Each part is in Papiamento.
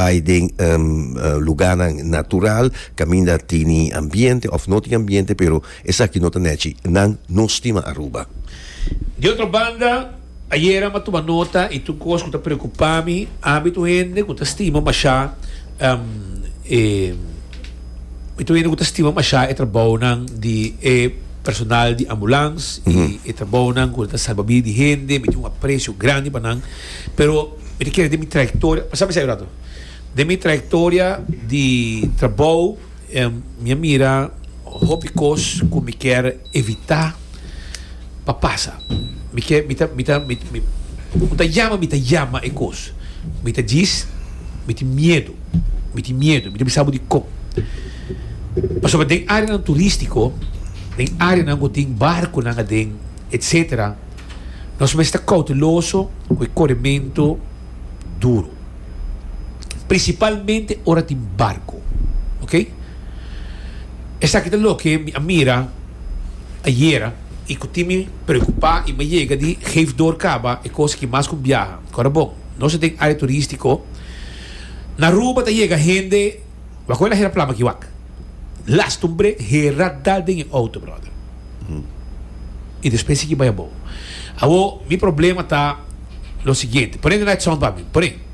Bai den lugánan natural kaminda tini ambiente òf no tin ambiente pero esaki no ta nèchi. Nan no stima Aruba. Di otro banda, ayera mi a tuma nota i tur kos ku ta preokupá mi, ami ta un hende ku ta stima mashá e mi ta un hende ku ta stima mashá e trabounan di e personal di ambulans i e trabounan ku ta salba bida di hende, mi tin un apresio grandi pa nan, pero. Mi ta kere den mi trayectoria, pasa mi sa un rato. Den mi trayectoria di trabou mi a mira hopi cos cu mi kier evita pa pasa. Mi kier, mi ta, mi ta, mi, mi, un ta yama mi ta yama e cos. Mi ta djis, mi tin miedo, mi tin miedo, mi ta bisa bo dicon. Pasobra den areanan turistico, den areanan cu tin barconan aden, etcetera. Nos mester ta kouteloso ku e korementu duru, prinsipalmente ora tin barku. Ok? Esaki ta loke mi a mira ayera i ku tin mi preokupá i mi a yega di geef door kaba e kos aki mas ku un biaha. Kòrda bon, nos ta den área turístiko. Na Aruba ta yega hende, wak ora hera plama aki wak. Last un brek, hera dal den e outo, bròder. I despues sigui bai abou. Awor, mi problema ta lo siguiente. Pone den night sound pa mi. Pone.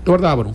Warda bo no.